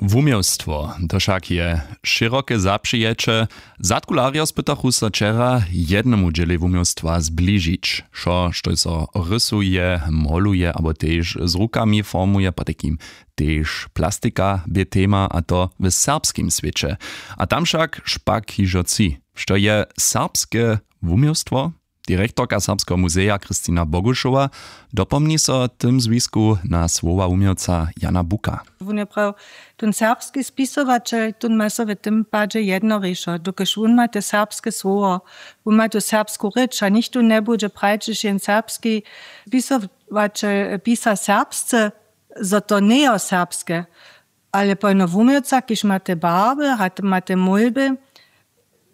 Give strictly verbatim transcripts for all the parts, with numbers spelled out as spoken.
Wuměłstwo, to wšak je šěroke zapřijeće. Zadkularjo spytachu so wčera, jednemu dźělej wuměłstwa zbližić wšo, štož so rysuje, moluje abo tež z rukami formuje, potajkim tež plastika bě tema, a to w serbskim swěće. A tam wšak špak hižo tři. Što je serbske wuměłstwo? Direktorka Serbskeho muzeja Kristina Bogušowa dopomni so w tym zwisku na słowa wuměłca Jana Buka. Wón je prajił, tón serbski spisowaćel, tón ma so w tym padźe jednorěšo, dokelž wón ma te serbske słowo, wón ma tu serbsku rěč a nichtó njebudźe prajić, jen serbski spisowaćel pisa serbsce, zo to njejo serbske. Ale pojno wuměłca, kiž ma te barby a ma te mólby,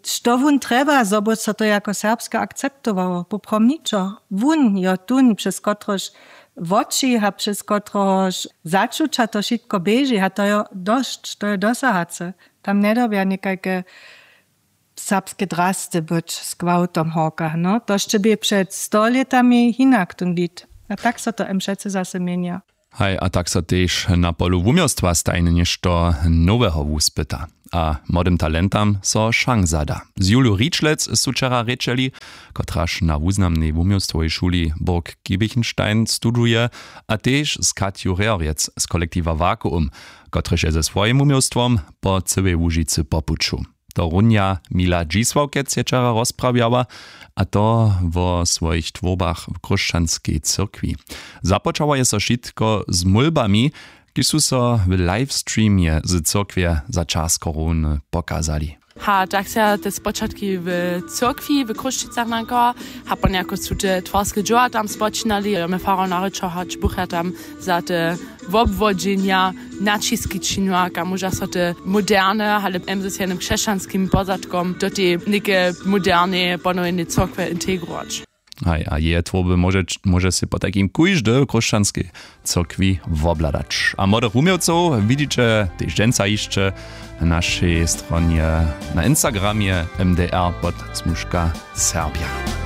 što wón trjeba, zo by so to jako serbske akceptowało? Poprawom ničo. Wón jo tón, přez kotrehož woči a přez kotrehož začuća to wšitko běži, a to jo dosć, to jo dosahace. Tam njedyrbja někajke serbske drasty być z gwałtom horka, no to sće bě před sto lětami hinak tón wid. A tak so to em přecy zase měnja. Haj, a tak so tež na polu wuměłstwa stajnje něšto noweho wuspyta a młodym talentam so šansa da. Z Juliju Ričlec su wčera rěčeli, kotraž na wuznamnej wuměłstwowej šuli Burg Giebichenstein studuje, a tež z Katju Rehorjec z kolektiwa Vakuum, kotryž je ze swojim wuměłstwom po cyłej Łužicy po puću. To runja Mila Dźisławkec je wčera rozprawjała, a to wo swojich twórbach w chróšćanskej cyrkwi. Započało je so wšitko z mólbami, kiž su so w livestreamje z cyrkwje za čas korony pokazali. Ha, tak se te spočatki w cyrkwi w Chrósćicach nanka, ha, ponjako su te twarske dźěła tam spočinali, jo, my farar narěčo hač bucha tam za te wobwodźenja naćiski činiła, kaž móža so te moderne, ale em z jednym křesćanskim pozadkom do tej něke moderneje ponowjenej cyrkwje integrować. Haj, a jeje twórby móže, móže sej potajkim kóždy w chróšćanskej cyrkwi wobhladać. A młodych wuměłcow widźiće tež dźensa hišće na našej stronje na Instagramje M D R pod smužka Serbja.